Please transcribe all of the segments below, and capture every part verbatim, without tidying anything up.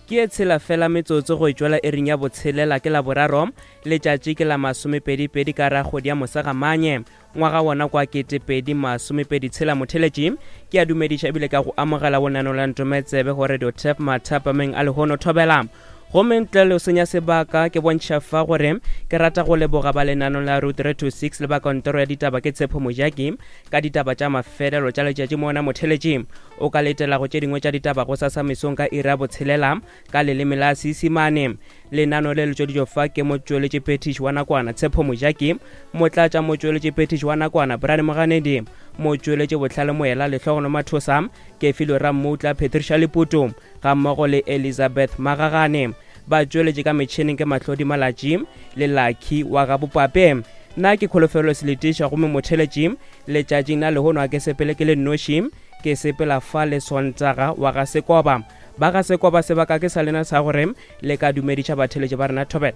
Ke e tshela fela metsotso go tšwela ering ya botshelela ke la boraro, letšatši ke la masomepedipedi ka ra kgwedi ya Mosegamanye ngwaga wona kwa ketepedi masomepedi tshela. Motheletši ke a dumediša ebile ka go amogela bonano la Ntometsebe go Radio Tap mathapameng a lehono thobela. Gomme ntle le senya sebaka ke bontšha fa gore ke rata go leboga ba lenano la Route three two six le ba kantoro ya ditaba ke Tshepo Mojaki ka ditaba tša mafelelo tša letšatši mona. Motheletši o ka letela go tše dingwe tša ditaba go sasa mesong ka iri ya botshelela ka leleme la Seisimane. Lenano le le tšweditšwe fa ke motšweletši phethiši wa nakwana Tshepo Mojaki, motlatša motšweletši phethiši wa nakwana Brian Moganedi, motšweletši Bohlale Moela Lehlogono Mathosa, Kefilo Rammutla Patricia Leputo ga mmogo le Elizabeth Magagane. Ba tšweletše ka metšhineng ke Mahlodi Malatši le Lucky wa ga Bopape. Nna ke Kholofelo Seletiša, gomme motheletši letšatšing la lehono a ke sepele ke le nnoši, ke sepela fa le Sontaga wa ga Sekoba. Ba ga Sekoba sebaka ke sa lena sa gore le ka dumediša batheletši ba rena thobela.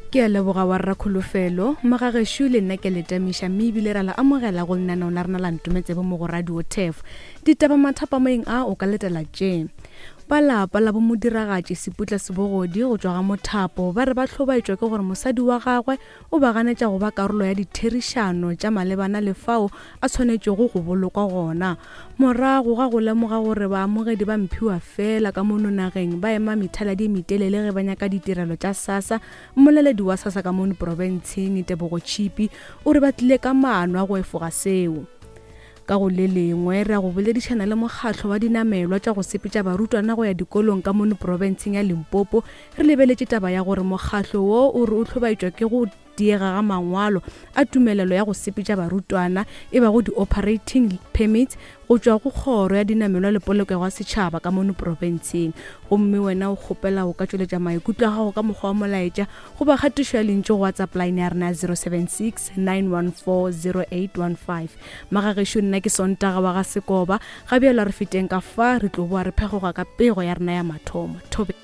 Ke a leboga wa rra Kholofelo, magagešo le nna ke le tamiša mme ebile ra la amogela go lenaneo la rena la Ntometsebe mo go Radio Tef. Ditaba mathapameng a o ka letela tše. Ba lapa la bomodiragatši Seputla Sebogodi go tšwa ga Mothapo ba re ba hlobaetšwa ke gore mosadi wa gagwe o ba ganetša go ba karolo ya ditherišano tša malebana le fao a tshwanetšego go bolokwa gona. Morago ga go lemoga gore baamogedi ba mphiwa fela ka mono nageng ba ema methaladi e metelele ge ba nyaka ditirelo tša SASSA, mmoleledi wa SASSA ka mono profenseng Tebogo Tšhipi o re ba tlile ka maano a go efoga seo. Ka go le lengwe re ya go boledišana le mokgatlo wa dinamelwa tša go sepetša barutwana go ya dikolong ka mono profenseng ya Limpopo, re lebeletše taba ya gore mokgatlo wo o re o hlobaetšwa ke go diega ga mangwalo a tumelelo ya go sepetša barutwana e bago di-operating permits go tšwa go kgoro ya dinamelwa le polokego ya setšhaba ka mono profenseng. Gomme wena o kgopela o ka tšweletša maikutlo a gago ka mokgwa wa molaetša goba kgatišo ya lentšu go WhatsApp line ya rena zero seven six nine one four zero eight one five. Magagešo nna ke Sontaga wa ga Sekoba, ga bjalo re feteng ka fa re tlo boa re phegoga ka pego ya rena ya mathomo. Thobe.